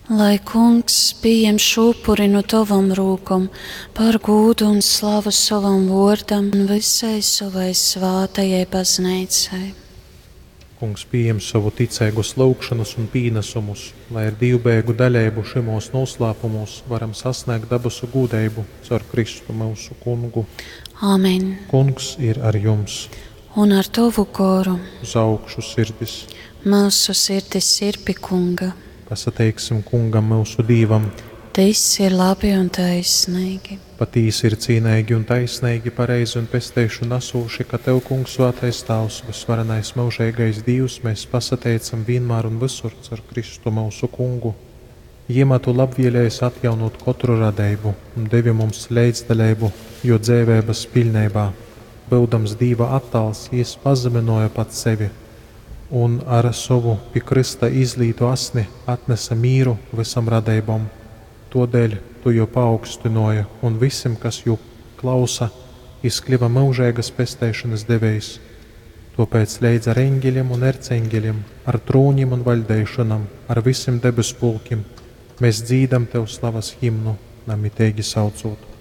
Lai kungs pieņem šo upuri no tavam rūkom par gūdu un slavu savam vārdam un visai savai svātajai baznīcai. Kungs pieņem savu ticeigus lūgšanas un pīnesumus, lai ar divbēgu daļeibu šimos noslēpumos varam sasniegt dabasu gūdeibu caur Kristu mūsu kungu. Āmen. Kungs ir ar jums, Un ar tavu goru uz augšu sirdis. mūsu sirdis ir pie kunga. Pasateiksim kungam mūsu dīvam. Tas ir labi un taisnīgi. Patīsi ir cīnīgi un taisnīgi, pareizi un pesteišu nesūši, ka Tev, Kungs, svētais Tavs, visvarenais mūžīgais Dievs, mēs pasateicam vienmēr un visur caur Kristu mūsu kungu. Jimā tu labvēlējies atjaunot katru radību un devi mums līdzdaļību, jo dzēvēbas pilnībā, būdams Dīva attāls, jis pazeminoja pats sevi un ar savu pie krista izlītu asni atnesa mīru visam radībam. Todēļ tu jo paaugstināja un visiem, kas jū klausa, jis kļuva mūžīgas pesteišanas devējs. Tāpēc leidz ar eņģeļiem un erceņģeļiem, ar trūņiem un vaļdeišanam, ar visiem debes pulkiem, mēs dzīdam tev slavas himnu, namitīgi saucot.